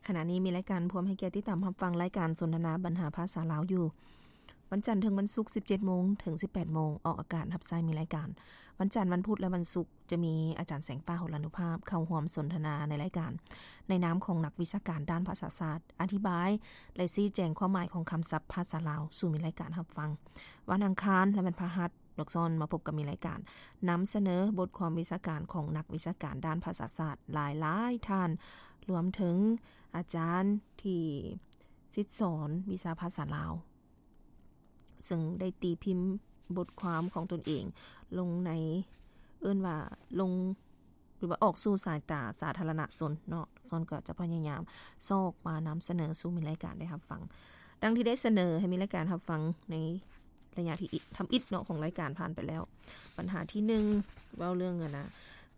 ຂະນະນີ້ມີລາຍການ ພວມໃຫ້ກຽດຕິດຕາມຮັບຟັງລາຍການສົນທະນາບັນຫາພາສາລາວຢູ່ ວັນຈັນເຖິງວັນສຸກ ສິບເຈັດໂມງເຖິງ ສິບແປດໂມງ ອອກອາກາດຮັບໃຊ້ມີລາຍການ ວັນຈັນ, ວັນພຸດ ແລະ ວັນສຸກ ຈະມີອາຈານແສງຟ້າ ຫົລານຸພາບ ເຂົ້າຮ່ວມສົນທະນາໃນລາຍການ ໃນນາມຂອງນັກວິຊາການດ້ານພາສາສາດ ອະທິບາຍ ແລະ ຊີ້ແຈງຄວາມໝາຍຂອງຄຳສັບພາສາລາວສູ່ມີລາຍການຮັບຟັງ. ວັນອັງຄານ ແລະ ວັນພະຫັດ ນອກຊ້ອນມາພົບກັບມີລາຍການນຳສະເໜີບົດຄວາມວິຊາການຂອງນັກວິຊາການດ້ານພາສາສາດຫຼາຍໆທ່ານ ລວມເຖິງອາຈານທີ່ສິດສອນວິຊາພາສາລາວ ເຊິ່ງໄດ້ຕີພິມບົດຄວາມຂອງຕົນເອງລົງໃນ ເອີ້ນວ່າລົງ ຫຼືວ່າອອກສູ່ສາຍຕາສາທາລະນະຊົນເນາະ, ຊ້ອນກໍຈະພະຍາຍາມຊອກມານຳສະເໜີສູ່ມີລາຍການໄດ້ຮັບຟັງ ດັ່ງທີ່ໄດ້ສະເໜີໃຫ້ມີລາຍການຮັບຟັງໃນໄລຍະທີ່ອິ- ທຳອິດເນາະ ຂອງລາຍການຜ່ານໄປແລ້ວ. ບັນຫາທີໜຶ່ງ ເວົ້າເລື່ອງ ອັນນະ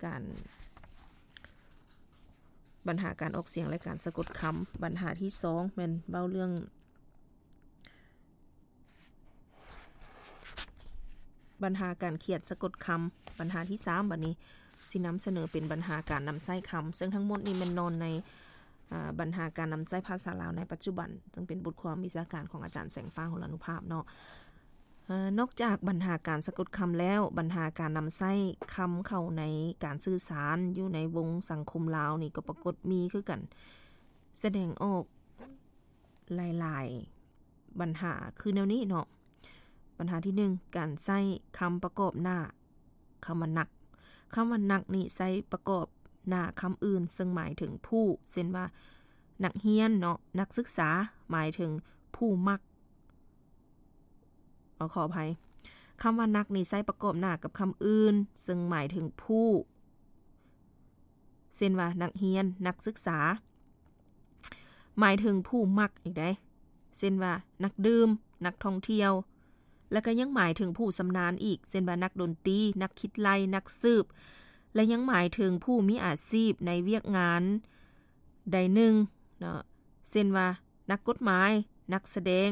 ການ ບັນຫາການອອກສຽງ ແລະ ການສະກົດຄຳ. ບັນຫາທີສອງ ແມ່ນເວົ້າເລື່ອງ ບັນຫາການຂຽນສະກົດຄຳ. ບັນຫາທີສາມ ບັດນີ້ຊິນຳສະເໜີເປັນບັນຫາການນຳໃຊ້ຄຳ, ເຊິ່ງທັງໝົດນີ້ແມ່ນນອນໃນ ອາ ບັນຫາການນຳໃຊ້ພາສາລາວໃນປັດຈຸບັນ, ເຊິ່ງເປັນບົດຄວາມວິຊາການຂອງອາຈານແສງຟ້າ ຫົລານຸພາບເນາະ. ເອີ ນອກຈາກບັນຫາການສະກົດຄຳແລ້ວ, ບັນຫາການນຳໃຊ້ຄຳເຂົ້າໃນການສື່ສານຢູ່ໃນວົງສັງຄົມລາວນີ້ກໍປາກົດມີຄືກັນ, ສະແດງອອກ ຫຼາຍໆບັນຫາຄືແນວນີ້ເນາະ. ບັນຫາທີໜຶ່ງ ການໃຊ້ຄຳປະກອບໜ້າຄຳວ່ານັກ. ຄຳວ່ານັກນີ້ໃຊ້ປະກອບໜ້າຄຳອື່ນ ເຊິ່ງໝາຍເຖິງຜູ້, ເຊັ່ນວ່າ ນັກຮຽນເນາະ, ນັກສຶກສາ, ໝາຍເຖິງຜູ້ມັກ. ເອົາ ຂໍອະໄພ, ຄຳວ່ານັກນີ້ໃຊ້ປະກອບໜ້າກັບຄຳອື່ນ ເຊິ່ງໝາຍເຖິງຜູ້, ເຊັ່ນວ່າ ນັກຮຽນ, ນັກສຶກສາ. ໝາຍເຖິງຜູ້ມັກອີກໃດ໋ ເຊັ່ນວ່າ ນັກດື່ມ, ນັກທ່ອງທ່ຽວ ແລະ ກໍຍັງໝາຍເຖິງຜູ້ຊຳນານອີກ ເຊັ່ນວ່າ ນັກດົນຕີ, ນັກຄິດໄລ່, ນັກສືບ ແລະ ຍັງໝາຍເຖິງຜູ້ມີອາຊີບໃນວຽກງານໃດໜຶ່ງເນາະ ເຊັ່ນວ່າ ນັກກົດໝາຍ, ນັກສະແດງ,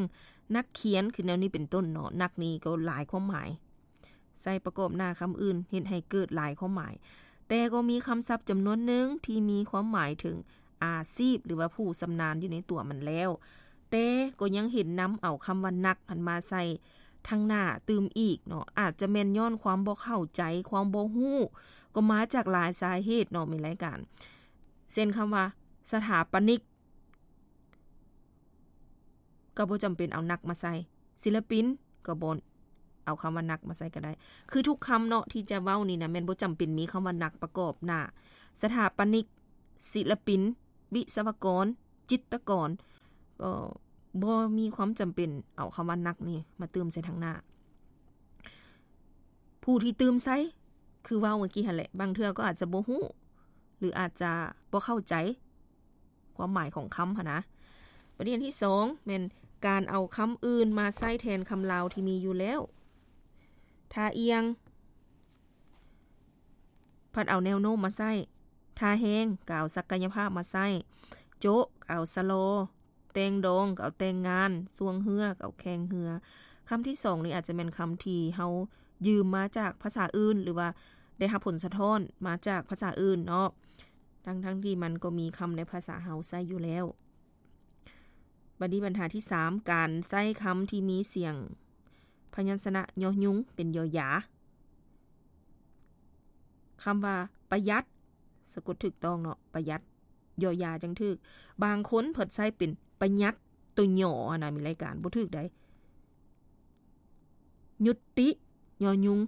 ນັກຂຽນ ຄືແນວນີ້ເປັນຕົ້ນເນາະ. ນັກນີ້ກໍຫຼາຍຄວາມໝາຍ. ໃຊ້ປະກອບໜ້າຄຳອື່ນ ເຮັດໃຫ້ເກີດຫຼາຍຄວາມໝາຍ, ແຕ່ກໍມີຄຳສັບຈຳນວນໜຶ່ງທີ່ມີຄວາມໝາຍເຖິງອາຊີບ ຫຼືວ່າຜູ້ຊຳນານຢູ່ໃນຕົວມັນແລ້ວ, ແຕ່ກໍຍັງເຫັນນຳເອົາຄຳວ່ານັກຫັ້ນມາໃສ່ທາງໜ້າຕື່ມອີກເນາະ, ອາດຈະແມ່ນຍ້ອນຄວາມບໍ່ເຂົ້າໃຈ, ຄວາມບໍ່ຮູ້ ກໍມາຈາກຫຼາຍສາເຫດເນາະ ແມ່ນລາຍການ, ເຊັ່ນຄຳວ່າສະຖາປະນິກ ກໍບໍ່ຈຳເປັນເອົານັກມາໃສ່, ສິລະປິນກໍບໍ່ເອົາຄຳວ່ານັກມາໃສ່ກໍໄດ້. ຄືທຸກຄຳເນາະທີ່ຈະເວົ້ານີ້ນະ ແມ່ນບໍ່ຈຳເປັນມີຄຳວ່ານັກປະກອບໜ້າ. ສະຖາປະນິກ, ສິລະປິນ, ວິສະວະກອນ, ຈິດຕະກອນ ກໍບໍ່ມີຄວາມຈຳເປັນເອົາຄຳວ່ານັກນີ້ມາຕື່ມໃສ່ທາງໜ້າ. ຜູ້ທີ່ຕື່ມໃສ່ ຄືເວົ້າເມື່ອກີ້ຫັ້ນແຫຼະ, ບາງເທື່ອກໍອາດຈະບໍ່ຮູ້ ຫຼື ອາດຈະບໍ່ເຂົ້າໃຈ ຄວາມໝາຍຂອງຄຳຫັ້ນນະ. ປະເດັນທີສອງ ແມ່ນການເອົາຄຳອື່ນມາໃຊ້ແທນຄຳລາວທີ່ມີຢູ່ແລ້ວ. ທ່າອ່ຽງ ພັດເອົາແນວໂນ້ມມາໃຊ້, ທ່າແຮງ ກໍເອົາສັກກະຍະພາບມາໃຊ້, ໂຈະ ກໍເອົາສະຫຼໍ, ແຕ່ງດອງ ກໍເອົາແຕ່ງງານ, ຊ່ວງເຮືອ ກໍເອົາແຂ່ງເຮືອ. ຄຳທີສອງນີ້ອາດຈະແມ່ນຄຳທີ່ເຮົາຢືມມາຈາກພາສາອື່ນ ຫຼືວ່າໄດ້ຮັບຜົນສະທ້ອນມາຈາກພາສາອື່ນເນາະ, ທັງໆທີ່ມັນກໍມີຄຳໃນພາສາເຮົາໃຊ້ຢູ່ແລ້ວ. ບັດນີ້ບັນຫາທີສາມ ການໃຊ້ຄຳທີ່ມີສຽງພະຍັນຊະນະຍໍຍຸງເປັນ ຍໍຢາ. ຄຳວ່າປະຢັດ ສະກົດຖືກຕ້ອງເນາະ, ປະຢັດ ຍໍຢາຈັ່ງຖືກ. ບາງຄົນເພິ່ນໃຊ້ເປັນປະຍັດ ໂຕຍໍຫັ້ນນະ ມີລາຍການ ບໍ່ຖືກໃດ. ຍຸດຕິ ຍໍຍຸງ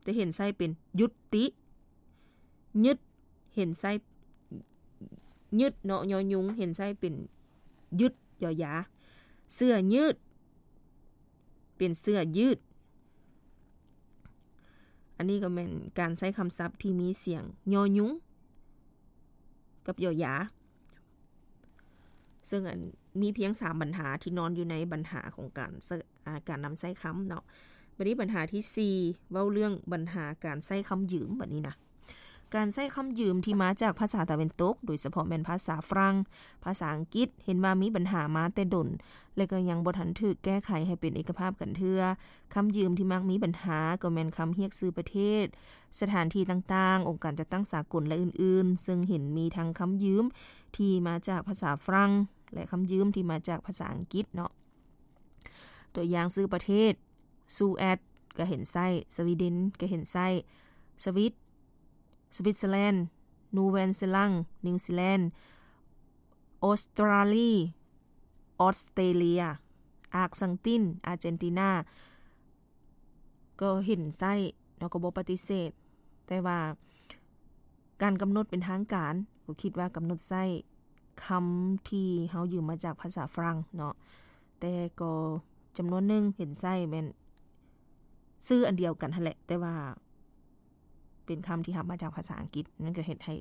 ຈະເຫັນໃຊ້ເປັນ ຍຸດຕິ. ຍຶດ ເຫັນໃຊ້ ຍຶດເນາະ ຍໍຍຸງ ເຫັນໃຊ້ເປັນ ຍຶດ ຍໍຢາ. ເສື້ອຍືດ ເປັນເສື້ອຍືດ. ອັນນີ້ກໍແມ່ນການໃຊ້ຄຳສັບທີ່ມີສຽງ ຍໍຍຸງ ກັບ ຍໍຢາ. ເຊິ່ງອັນ ມີພຽງສາມບັນຫາທີ່ນອນຢູ່ໃນບັນຫາຂອງການໃຊ້ ອາ ການນຳໃຊ້ຄຳເນາະ. ບັດນີ້ບັນຫາທີສີ່ ເວົ້າເລື່ອງບັນຫາການໃຊ້ຄຳຢືມ ບັດນີ້ນະ. ການໃຊ້ຄຳຢືມທີ່ມາຈາກພາສາຕາເວັນຕົກ, ໂດຍສະເພາະແມ່ນພາສາຝຣັ່ງ, ພາສາອັງກິດ, ເຫັນວ່າມີບັນຫາມາແຕ່ດົນ ແລະ ກໍຍັງບໍ່ທັນຖືກແກ້ໄຂໃຫ້ເປັນເອກະພາບກັນເທື່ອ. ຄຳຢືມທີ່ມັກມີບັນຫາກໍແມ່ນຄຳຮຽກຊື່ປະເທດ, ສະຖານທີ່ຕ່າງໆ, ອົງການຈັດຕັ້ງສາກົນ ແລະ ອື່ນໆ, ເຊິ່ງເຫັນມີທັງຄຳຢືມທີ່ມາຈາກພາສາຝຣັ່ງ ແລະ ຄຳຢືມທີ່ມາຈາກພາສາອັງກິດເນາະ. ຕົວຢ່າງຊື່ປະເທດ, ສະຫວັດ ກໍເຫັນໃຊ້, ສະວີເດັນ ກໍເຫັນໃຊ້, ສະວິດ ສະວິດເຊີແລນ, ນູແວນເຊລັງ ນິວຊີແລນ, ອົດສະຕຣາລີ ອອສເຕຣເລຍ, ອາກສັງຕິນ ອາເຈນຕິນາ ກໍເຫັນໃຊ້ເນາະ, ກໍບໍ່ປະຕິເສດ. ແຕ່ວ່າການກຳນົດເປັນທາງການ, ກໍຄິດວ່າກຳນົດໃຊ້ຄຳທີ່ເຮົາຢືມມາຈາກພາສາຝຣັ່ງເນາະ, ແຕ່ກໍຈຳນວນໜຶ່ງເຫັນໃຊ້ແມ່ນຊື່ອັນດຽວກັນຫັ້ນແຫຼະ, ແຕ່ວ່າເປັນຄຳທີ່ຮັບມາຈາກພາສາອັງກິດ, ມັນກໍເຮັດໃຫ້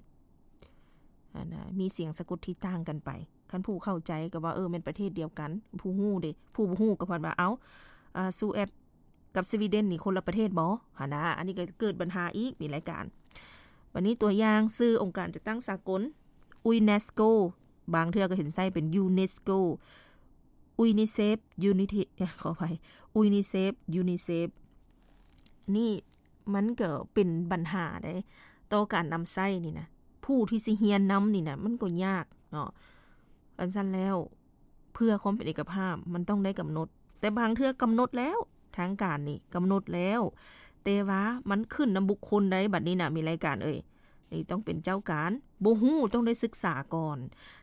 ອັນນະ ມີສຽງສະກົດທີ່ຕ່າງກັນໄປ. ຄັນຜູ້ເຂົ້າໃຈກໍວ່າ ເອີ ແມ່ນປະເທດດຽວກັນ, ຜູ້ຮູ້ເດ, ຜູ້ບໍ່ຮູ້ກໍພັດວ່າ ເອົ້າ ອາ ສະຫວັດ ກັບສະວີເດັນນີ້ຄົນລະປະເທດບໍ່ ຫັ້ນນະ. ອັນນີ້ກໍເກີດບັນຫາອີກ, ມີລາຍການ. ບັດນີ້ຕົວຢ່າງຊື່ອົງການຈັດຕັ້ງສາກົນ ຢູເນສໂກ, ບາງເທື່ອກໍເຫັນໃຊ້ເປັນຢູເນສໂກ, ຢູນິເຊຟ ຢູນິເທ ຂໍອະໄພ ຢູນິເຊຟ ຢູນິເຊຟ ນີ້ ມັນກໍເປັນບັນຫາເດ້ ຕໍ່ການນຳໃຊ້ນີ້ນະ, ຜູ້ທີ່ຊິຮຽນນຳນີ້ນະ ມັນກໍຍາກເນາະ. ອັນຊັ້ນແລ້ວ ເພື່ອຄວາມເປັນເອກະພາບ ມັນຕ້ອງໄດ້ກຳນົດ, ແຕ່ບາງເທື່ອກຳນົດແລ້ວ ທາງການນີ້ກຳນົດແລ້ວ, ແຕ່ວ່າມັນຂຶ້ນນຳບຸກຄົນໃດ໋ ບັດນີ້ນະ ມີລາຍການເອີຍ, ນີ້ຕ້ອງເປັນເຈົ້າການ, ບໍ່ຮູ້ ຕ້ອງໄດ້ສຶກສາກ່ອນ.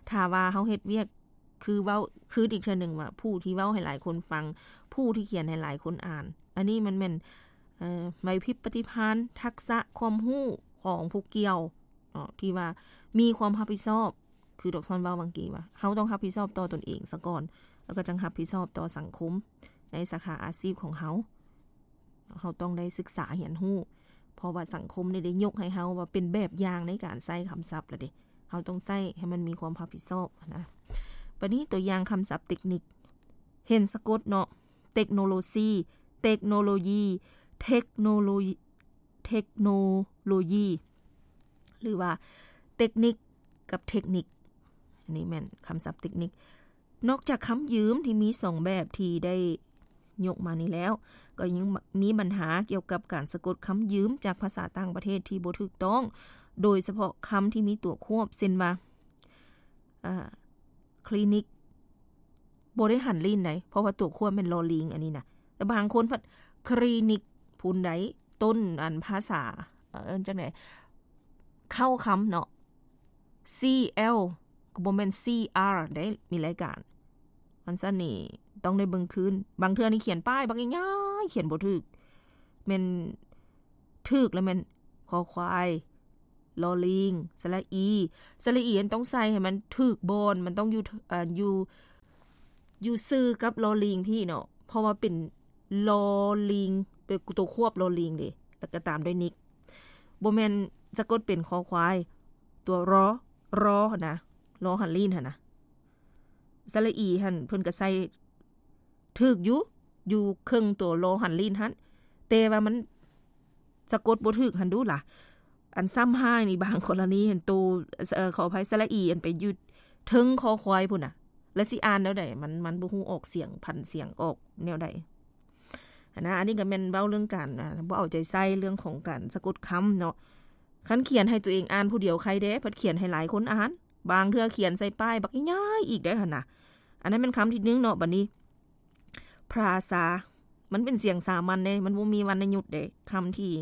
ຖ້າວ່າເຮົາເຮັດວຽກ ຄືເວົ້າ ຄືອີກເທື່ອໜຶ່ງວ່າ ຜູ້ທີ່ເວົ້າໃຫ້ຫຼາຍຄົນຟັງ, ຜູ້ທີ່ຂຽນໃຫ້ຫຼາຍຄົນອ່ານ, ອັນນີ້ມັນແມ່ນ ເອີ ໄຫວພິບປະຕິພານ, ທັກສະຄວາມຮູ້ຂອງຜູ້ກ່ຽວເນາະ ທີ່ວ່າມີຄວາມຮັບຜິດຊອບ, ຄືດອກຊອນເວົ້າບາງກີວ່າ ເຮົາຕ້ອງຮັບຜິດຊອບຕໍ່ຕົນເອງສາກ່ອນ, ແລ້ວກໍຈັ່ງຮັບຜິດຊອບຕໍ່ສັງຄົມໃນສາຂາອາຊີບຂອງເຮົາ. ເຮົາຕ້ອງໄດ້ສຶກສາຮຽນຮູ້, ເພາະວ່າສັງຄົມນີ້ໄດ້ຍົກໃຫ້ເຮົາວ່າເປັນແບບຢ່າງໃນການໃຊ້ຄຳສັບລະເດ, ເຮົາຕ້ອງໃຊ້ໃຫ້ມັນມີຄວາມຮັບຜິດຊອບນະ. ບັດນີ້ຕົວຢ່າງຄຳສັບເຕັກນິກ, ເຫັນສະກົດເນາະ, ເຕັກໂນໂລຊີ, ເຕັກໂນໂລຢີ, ເທັກໂນໂລ ເທັກໂນໂລຢີ ຫຼືວ່າເຕັກນິກກັບເທັກນິກ, ອັນນີ້ແມ່ນຄຳສັບເຕັກນິກ. ນອກຈາກຄຳຢືມທີ່ມີສອງແບບທີ່ໄດ້ຍົກມານີ້ແລ້ວ, ກໍຍັງມີບັນຫາກ່ຽວກັບການສະກົດຄຳຢືມຈາກພາສາຕ່າງປະເທດທີ່ບໍ່ຖືກຕ້ອງ, ໂດຍສະເພາະຄຳທີ່ມີຕົວຄວບ, ເຊັ່ນວ່າ ອາ ຄລີນິກ ບໍ່ໄດ້ຫັນລີ້ນໃດ, ເພາະວ່າຕົວຄວບແມ່ນລໍລີງ ອັນນີ້ນະ, ແຕ່ບາງຄົນພັດຄລີນິກພຸ້ນໃດ, ຕົ້ນ ອັນ ພາສາ ເອີ້ນຈັ່ງໃດ ເຄົ້າຄຳເນາະ, ຊີແອລ ກໍບໍ່ແມ່ນຊີອາ ເດ້, ມີລາຍການ. ອັນຊັ້ນນີ້ຕ້ອງໄດ້ເບິ່ງຄືນ, ບາງເທື່ອນີ້ຂຽນປ້າຍບັກໃຫຍ່ໆ ຂຽນບໍ່ຖືກ, ແມ່ນຖືກແລ້ວແມ່ນ ຄອຄວາຍ ລໍລີງ ສະຫຼະອີ, ສະຫຼະອີຫັ້ນຕ້ອງໃສ່ໃຫ້ມັນຖືກບ່ອນ, ມັນຕ້ອງຢູ່ ເອີ ຢູ່ ຢູ່ຊື່ກັບລໍລີງພີ້ເນາະ, ເພາະວ່າເປັນລໍລີງ ເປັນຕົວຄວບລໍລີງເດ້, ແລ້ວກໍຕາມດ້ວຍນິກ, ບໍ່ແມ່ນສະກົດເປັນຄໍຄວາຍ ຕົວ ຣ ຣ ຫັ້ນນະ, ລໍຫັນລີ້ນຫັ້ນນະ. ສະຫຼະອີຫັ້ນເພິ່ນກໍໃສ່ຖືກຢູ່, ຢູ່ເຄິ່ງຕົວລໍຫັນລີ້ນຫັ້ນ, ແຕ່ວ່າມັນ ສະກົດບໍ່ຖືກຫັ້ນດູລະ. ອັນຊ້ຳຮ້າຍນີ້ ບາງກໍລະນີຫັ້ນ ໂຕ ເອີ ຂໍອະໄພ ສະຫຼະອີ ອັນໄປຢູ່ເທິງຄໍຄວາຍພຸ້ນນະ, ແລ້ວຊິອ່ານແນວໃດ? ມັນ ມັນບໍ່ຮູ້ອອກສຽງ ຜັນສຽງອອກແນວໃດຫັ້ນນະ. ອັນນີ້ກໍແມ່ນເວົ້າເລື່ອງການ ອາ ບໍ່ເອົາໃຈໃສ່ເລື່ອງຂອງການສະກົດຄຳເນາະ. ຄັນຂຽນໃຫ້ຕົວເອງອ່ານຜູ້ດຽວໄຄແດ່, ພັດຂຽນໃຫ້ຫຼາຍຄົນອ່ານ, ບາງເທື່ອຂຽນໃສ່ປ້າຍບັກໃຫຍ່ໆອີກໄດ໋ຫັ້ນນະ. ອັນນັ້ນແມ່ນຄຳທີໜຶ່ງເນາະ. ບັດນີ້ ພຣາຊາ ມັນເປັນສຽງສາມັນເດ້, ມັນບໍ່ມີວັນນະຍຸດເດ້, ຄຳທີ່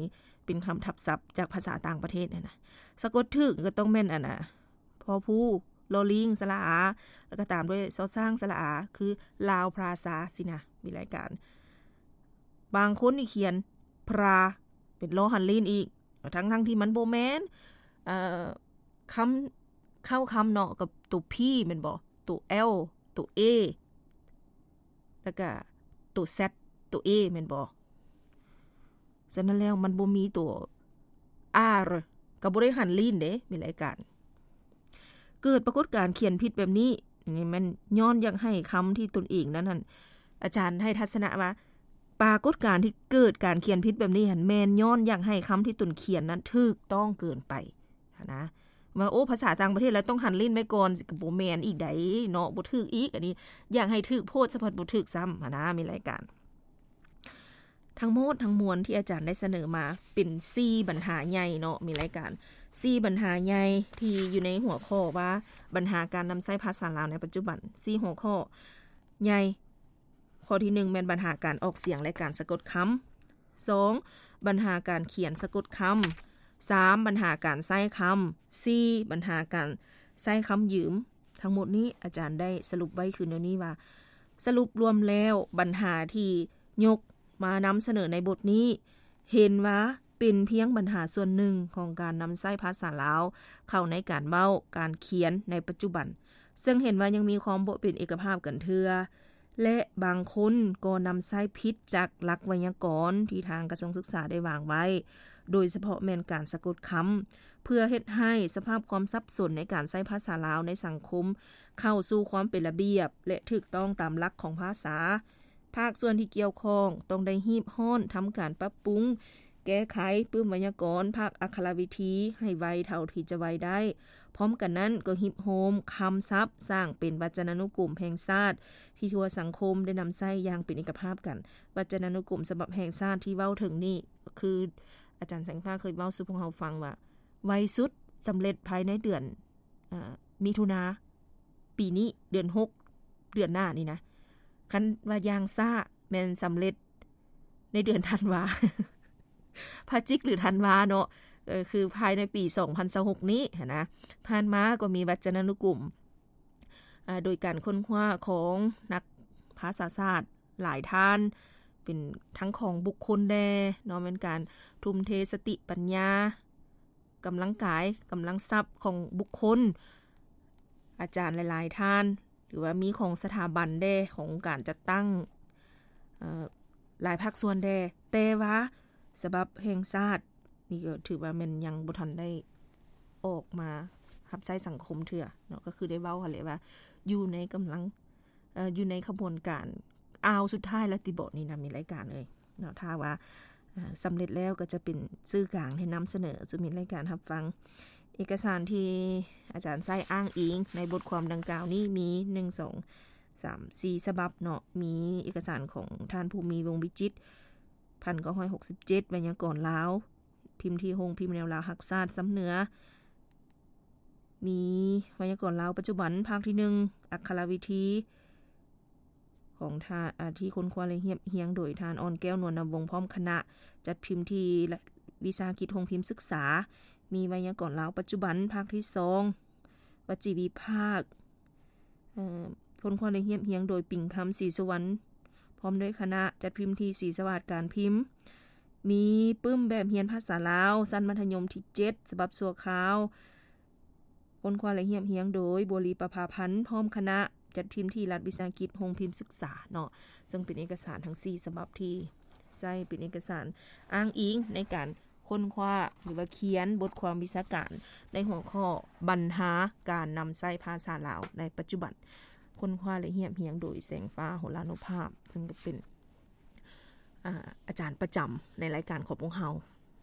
ເປັນຄຳທັບສັບຈາກພາສາຕ່າງປະເທດຫັ້ນນະ. ສະກົດຖືກກໍຕ້ອງແມ່ນ ອັນນະ ພໍພູ ລໍລີງ ສະຫຼະອາ ແລ້ວກໍຕາມດ້ວຍ ຊໍຊ້າງ ສະຫຼະອາ ຄື ລາວພຣາຊາ ຊີ້ນະ, ມີລາຍການ. ບາງຄົນນີ້ຂຽນ ພຣາ ເປັນລໍຫັນລີ້ນອີກ, ທັງໆທີ່ມັນບໍ່ແມ່ນ. ເອີ ຄຳ ເຄົ້າຄຳເນາະ ກັບໂຕ ພີ ແມ່ນບໍ່? ໂຕ ແອລ ໂຕ ເອ ແລ້ວກະໂຕ ແຊັດ ໂຕ ເອ ແມ່ນບໍ່? ສະນັ້ນແລ້ວມັນບໍ່ມີໂຕ ອາ ກໍບໍ່ໄດ້ຫັນລີ້ນເດ້, ມີລາຍການ. ເກີດປາກົດການຂຽນຜິດແບບນີ້ ນີ້ແມ່ນຍ້ອນຢາກໃຫ້ຄຳທີ່ຕົນເອງນັ້ນຫັ້ນ ອາຈານໃຫ້ທັດສະນະວ່າ ປາກົດການທີ່ເກີດການຂຽນຜິດແບບນີ້ຫັ້ນ ແມ່ນຍ້ອນຢາກໃຫ້ຄຳທີ່ຕົນຂຽນນັ້ນຖືກຕ້ອງເກີນໄປຫັ້ນນະ ວ່າ ໂອ້ ພາສາຕ່າງປະເທດແລ້ວຕ້ອງຫັນຫຼິ້ນໄວ້ກ່ອນ ກໍບໍ່ແມ່ນອີກໃດເນາະ ບໍ່ຖືກອີກ ອັນນີ້ຢາກໃຫ້ຖືກໂພດ ສະພັດບໍ່ຖືກຊ້ຳຫັ້ນນະ ມີລາຍການ. ທັງໝົດທັງມວນທີ່ອາຈານໄດ້ສະເໜີມາເປັນສີ່ບັນຫາໃຫຍ່ເນາະ ມີລາຍການ ສີ່ບັນຫາໃຫຍ່ທີ່ຢູ່ໃນຫົວຂໍ້ວ່າ ບັນຫາການນຳໃຊ້ພາສາລາວໃນປັດຈຸບັນ ສີ່ຫົວຂໍ້ໃຫຍ່. ຂໍ້ທີໜຶ່ງ ແມ່ນບັນຫາການອອກສຽງ ແລະ ການສະກົດຄຳ, ສອງ ບັນຫາການຂຽນສະກົດຄຳ, ສາມ ບັນຫາການໃຊ້ຄຳ, ສີ່ ບັນຫາການໃຊ້ຄຳຢືມ. ທັງໝົດນີ້ອາຈານໄດ້ສະຫຼຸບໄວ້ຄືແນວນີ້ວ່າ ສະຫຼຸບລວມແລ້ວ ບັນຫາທີ່ຍົກມານຳສະເໜີໃນບົດນີ້ ເຫັນວ່າເປັນພຽງບັນຫາສ່ວນໜຶ່ງຂອງການນຳໃຊ້ພາສາລາວເຂົ້າໃນການເວົ້າ, ການຂຽນໃນປັດຈຸບັນ, ເຊິ່ງເຫັນວ່າຍັງມີຄວາມບໍ່ເປັນເອກະພາບກັນເທື່ອ ແລະ ບາງຄົນກໍນຳໃຊ້ຜິດຈາກຫຼັກໄວຍາກອນທີ່ທາງກະຊວງສຶກສາໄດ້ວາງໄວ້, ໂດຍສະເພາະແມ່ນການສະກົດຄຳ, ເພື່ອເຮັດໃຫ້ສະພາບຄວາມສັບສົນໃນການໃຊ້ພາສາລາວໃນສັງຄົມເຂົ້າສູ່ຄວາມເປັນລະບຽບ ແລະ ຖືກຕ້ອງຕາມຫຼັກຂອງພາສາ. ພາກສ່ວນທີ່ກ່ຽວຂ້ອງຕ້ອງໄດ້ຮີບຮ້ອນທຳການປັບປຸງ ແກ້ໄຂປຶ້ມໄວຍາກອນ, ພາກອັກຂະລະວິທີໃຫ້ໄວເທົ່າທີ່ຈະໄວໄດ້. ພ້ອມກັນນັ້ນກໍຮິບໂຮມຄຳສັບສ້າງເປັນວັດຈະນານຸກົມແຫ່ງຊາດ ທີ່ທົ່ວສັງຄົມໄດ້ນຳໃຊ້ຢ່າງເປັນເອກະພາບກັນ. ວັດຈະນານຸກົມສະບັບແຫ່ງຊາດທີ່ເວົ້າເຖິງນີ້ ຄືອາຈານແສງຟ້າເຄີຍເວົ້າສູ່ພວກເຮົາຟັງວ່າ ໄວສຸດສຳເລັດພາຍໃນເດືອນ ເອີ ມິຖຸນາປີນີ້ ເດືອນຫົກ ເດືອນໜ້ານີ້ນະ. ຄັນວ່າຢ່າງຊ້າແມ່ນສຳເລັດໃນເດືອນທັນວາ ພະຈິກ ຫຼື ທັນວາເນາະ ເອີ ຄືພາຍໃນປີສອງພັນຊາວຫົກນີ້ຫັ້ນນະ. ຜ່ານມາກໍມີວັດຈະນານຸກົມ ອາ ໂດຍການຄົ້ນຄວ້າຂອງນັກພາສາສາດຫຼາຍທ່ານ ເປັນທັງຂອງບຸກຄົນແດ່ເນາະ ແມ່ນການທຸ່ມເທສະຕິປັນຍາ ກຳລັງກາຍ ກຳລັງຊັບຂອງບຸກຄົນ ອາຈານຫຼາຍໆທ່ານ ຫຼືວ່າມີຂອງສະຖາບັນແດ່ ຂອງອົງການຈັດຕັ້ງ ເອີ ຫຼາຍພາກສ່ວນແດ່ ແຕ່ວ່າສະບັບແຫ່ງຊາດນີ້ກໍຖືວ່າແມ່ນຍັງບໍ່ທັນໄດ້ອອກມາຮັບໃຊ້ສັງຄົມເທື່ອເນາະ ກໍຄືໄດ້ເວົ້າຫັ້ນແຫຼະວ່າຢູ່ໃນກຳລັງ ເອີ ຢູ່ໃນຂະບວນການອ້າວສຸດທ້າຍແລ້ວຕິເບາະນີ້ນະ ມີລາຍການເອີຍເນາະ ຖ້າວ່າ ເອີ ສຳເລັດແລ້ວກໍຈະເປັນສື່ກາງໃຫ້ນຳສະເໜີສູ່ມີລາຍການຮັບຟັງ. ເອກະສານທີ່ອາຈານໃຊ້ອ້າງອີງໃນບົດຄວາມດັ່ງກ່າວນີ້ມີ ໜຶ່ງ ສອງ ສາມ ສີ່ ສະບັບເນາະ ມີເອກະສານຂອງທ່ານ ພູມີ ວົງວິຈິດ ພັນເກົ້າຮ້ອຍຫົກສິບເຈັດ ໄວຍາກອນລາວ ພິມທີ່ໂຮງພິມແນວລາວຮັກຊາດຊຳເໜືອ ມີໄວຍາກອນລາວປັດຈຸບັນ ພາກທີໜຶ່ງ ອັກຂະລະວິທີ ຂອງທ່ານ ອາ ທີ່ຄົ້ນຄວ້າ ແລະ ຮຽບຮຽງໂດຍທ່ານ ອ່ອນແກ້ວ ນວນນຳວົງ ພ້ອມຄະນະ ຈັດພິມທີ່ ລະ ວິສາຫະກິດໂຮງພິມສຶກສາ. ມີໄວຍາກອນລາວປັດຈຸບັນ ພາກທີສອງ ວັດຈີວິພາກ ເອີ ຄົ້ນຄວ້າ ແລະ ຮຽບຮຽງໂດຍ ປິງຄຳ ສີສຸວັນ ພ້ອມດ້ວຍຄະນະ ຈັດພິມທີ່ສີສະຫວາດການພິມ. ມີປຶ້ມແບບຮຽນພາສາລາວ ຊັ້ນມັດທະຍົມທີເຈັດ ສະບັບຊົ່ວຄາວ ຄົ້ນຄວ້າ ແລະ ຮຽບຮຽງໂດຍ ບົວລີ ປະພາພັນ ພ້ອມຄະນະ ຈັດພິມທີ່ລັດວິສາຫະກິດໂຮງພິມສຶກສາເນາະ ເຊິ່ງເປັນເອກະສານທັງສີ່ສະບັບທີ່ໃຊ້ເປັນເອກະສານອ້າງອີງໃນການ ຄົ້ນຄວ້າ ຫຼືວ່າຂຽນບົດຄວາມວິຊາການໃນຫົວຂໍ້ບັນຫາການນຳໃຊ້ພາສາລາວໃນປັດຈຸບັນ, ຄົ້ນຄວ້າ ແລະ ຮຽບຮຽງໂດຍ ແສງຟ້າ ໂຫລານຸພາບ ເຊິ່ງກໍເປັນ ອາ ອາຈານປະຈຳໃນລາຍການຂອງພວກເຮົາ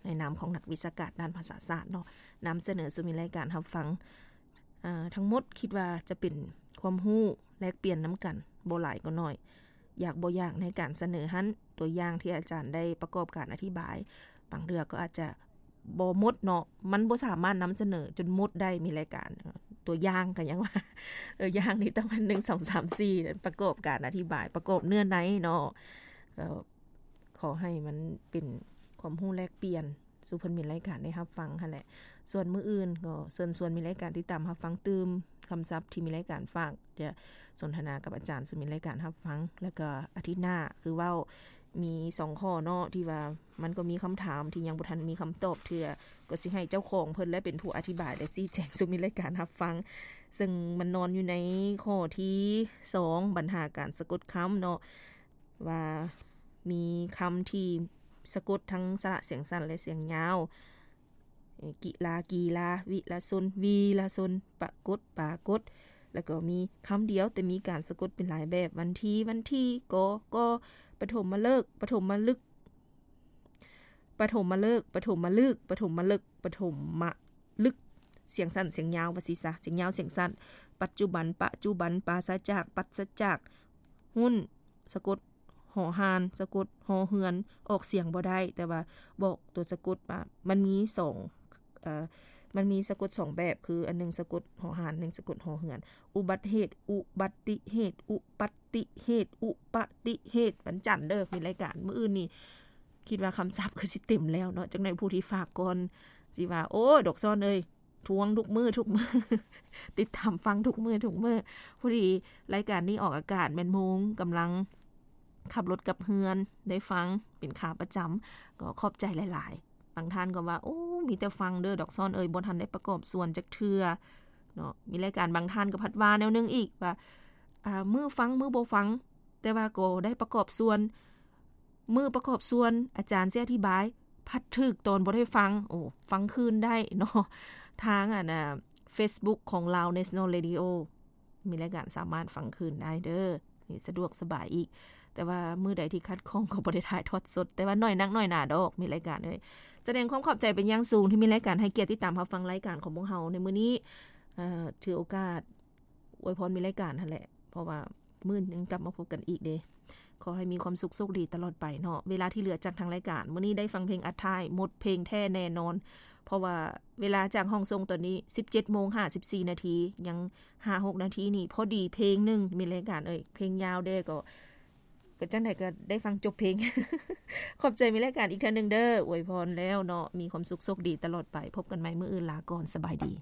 ໃນນາມຂອງນັກວິຊາການດ້ານພາສາສາດເນາະ ນຳສະເໜີສູ່ມີລາຍການຮັບຟັງ. ອາ ທັງໝົດຄິດວ່າຈະເປັນຄວາມຮູ້ແລກປ່ຽນນຳກັນ ບໍ່ຫຼາຍກໍໜ້ອຍ ຢາກບໍ່ຢາກໃນການສະເໜີຫັ້ນ ຕົວຢ່າງທີ່ອາຈານໄດ້ປະກອບການອະທິບາຍ ບາງເທື່ອກໍອາດຈະບໍ່ໝົດເນາະ ມັນບໍ່ສາມາດນຳສະເໜີຈົນໝົດໄດ້ ມີລາຍການ ຕົວຢ່າງກໍຍັງວ່າ ເອີ ຢ່າງນີ້ຕ້ອງອັນ ໜຶ່ງ ສອງ ສາມ ສີ່ ປະກອບການອະທິບາຍ ປະກອບເນື້ອໃນເນາະ ກໍຂໍໃຫ້ມັນເປັນຄວາມຮູ້ແລກປ່ຽນ ສູ່ເພິ່ນມີລາຍການໄດ້ຮັບຟັງຫັ້ນແຫຼະ. ສ່ວນມື້ອື່ນກໍເຊີນຊວນມີລາຍການຕິດຕາມຮັບຟັງຕື່ມ ຄຳສັບທີ່ມີລາຍການຝາກຈະສົນທະນາກັບອາຈານສູ່ມີລາຍການຮັບຟັງ. ແລ້ວກໍອາທິດໜ້າຄືເວົ້າ ມີສອງຂໍ້ເນາະ ທີ່ວ່າມັນກໍມີຄຳຖາມທີ່ຍັງບໍ່ທັນມີຄຳຕອບເທື່ອ ກໍຊິໃຫ້ເຈົ້າຂອງເພິ່ນແຫຼະເປັນຜູ້ອະທິບາຍ ແລະ ຊີ້ແຈງສູ່ມີລາຍການຮັບຟັງ. ເຊິ່ງມັນນອນຢູ່ໃນຂໍ້ທີສອງ ບັນຫາການສະກົດຄຳເນາະ ວ່າມີຄຳທີ່ສະກົດທັງສະຫຼະສຽງສັ້ນ ແລະ ສຽງຍາວ ກິລາ ກີລາ ວິລະຊົນ ວີລະຊົນ ປະກົດ ປາກົດ ແລ້ວກໍມີຄຳດຽວ ແຕ່ມີການສະກົດເປັນຫຼາຍແບບ ວັນທີ ວັນທີ ກໍ ກໍ ປະຖົມມະເລີກ ປະຖົມມະລຶກ ປະຖົມມະເລີກ ປະຖົມມະລຶກ ປະຖົມມະເລິກ ປະຖົມມະລຶກ ສຽງສັ້ນສຽງຍາວ ວ່າຊີ້ຊະ ສຽງຍາວສຽງສັ້ນ ປັດຈຸບັນ ປະຈຸບັນ ປາສະຈາກ ປັດສະຈາກ ຫຸ້ນ ສະກົດ ຫໍຮ່ານ ສະກົດ ຫໍເຮືອນ ອອກສຽງບໍ່ໄດ້ ແຕ່ວ່າບອກຕົວສະກົດວ່າມັນມີສອງ ເອີ ມັນມີສະກົດສອງແບບ ຄືອັນໜຶ່ງສະກົດ ຫໍຮ່ານ ໜຶ່ງສະກົດ ຫໍເຮືອນ ອຸບັດເຫດ ອຸບັດຕິເຫດ ອຸປັດຕິເຫດ ອຸປະຕິເຫດ ວັນຈັນເດີ ມີລາຍການ ມື້ອື່ນນີ້ ຄິດວ່າຄຳສັບຄືຊິເຕັມແລ້ວເນາະ ຈັກໜ້ອຍຜູ້ທີ່ຝາກກ່ອນຊິວ່າ ໂອ້ຍ ດອກຊອນເອີຍ ທວງທຸກມື້ທຸກມື້ ຕິດຕາມຟັງທຸກມື້ທຸກມື້ ພໍດີລາຍການນີ້ອອກອາກາດແມ່ນໂມງ ກຳລັງຂັບລົດກັບເຮືອນ ໄດ້ຟັງເປັນຂາປະຈຳ ກໍຂອບໃຈຫຼາຍໆ ບາງທ່ານກໍວ່າ ໂອ້ ມີແຕ່ຟັງເດີ ດອກຊອນເອີຍ ບໍ່ທັນໄດ້ປະກອບສ່ວນຈັກເທື່ອເນາະ ມີລາຍການ ບາງທ່ານກໍພັດວ່າແນວໜຶ່ງອີກວ່າ ອາ ມື້ຟັງ ມື້ບໍ່ຟັງ ແຕ່ວ່າກໍໄດ້ປະກອບສ່ວນ ມື້ປະກອບສ່ວນ ອາຈານຊິອະທິບາຍ ພັດຖືກຕອນບໍ່ໄດ້ຟັງ ໂອ້ ຟັງຄືນໄດ້ເນາະ ທາງອັນ ອາ ເຟສບຸກຂອງ Lao National Radio ມີລາຍການສາມາດຟັງຄືນໄດ້ເດີ ນີ້ສະດວກສະບາຍອີກ ແຕ່ວ່າມື້ໃດທີ່ຂັດຂ້ອງກໍບໍ່ໄດ້ຖ່າຍທອດສົດ ແຕ່ວ່າໜ້ອຍນັກໜ້ອຍໜາດອກ ມີລາຍການເອີຍ ສະແດງຄວາມຂອບໃຈເປັນຢ່າງສູງ ທີ່ມີລາຍການໃຫ້ກຽດຕິດຕາມຮັບຟັງລາຍການຂອງພວກເຮົາໃນມື້ນີ້ ເອີ ຖືໂອກາດ ອວຍພອນມີລາຍການຫັ້ນແຫຼະ ເພາະວ່າມື້ໜຶ່ງກັບມາພົບກັນອີກເດ້ ຂໍໃຫ້ມີຄວາມສຸກໂຊກດີຕະຫຼອດໄປເນາະ ເວລາທີ່ເຫຼືອຈາກທາງລາຍການ ມື້ນີ້ໄດ້ຟັງເພງອັດທ້າຍ ໝົດເພງແທ້ແນ່ນອນ ເພາະວ່າເວລາຈາກຫ້ອງສົ່ງຕອນນີ້ ສິບເຈັດໂມງຫ້າສິບສີ່ນາທີ ຍັງຫ້າຫົກນາທີນີ້ ພໍດີເພງໜຶ່ງ ມີລາຍການເອີຍ ເພງຍາວແດ່ ກໍ ກໍຈັ່ງໃດກໍໄດ້ຟັງຈົບເພງ ຂອບໃຈມີລາຍການອີກເທື່ອໜຶ່ງເດີ ອວຍພອນແລ້ວເນາະ ມີຄວາມສຸກໂຊກດີຕະຫຼອດໄປ ພົບກັນໃໝ່ມື້ອື່ນ ລາກ່ອນ ສະບາຍດີ.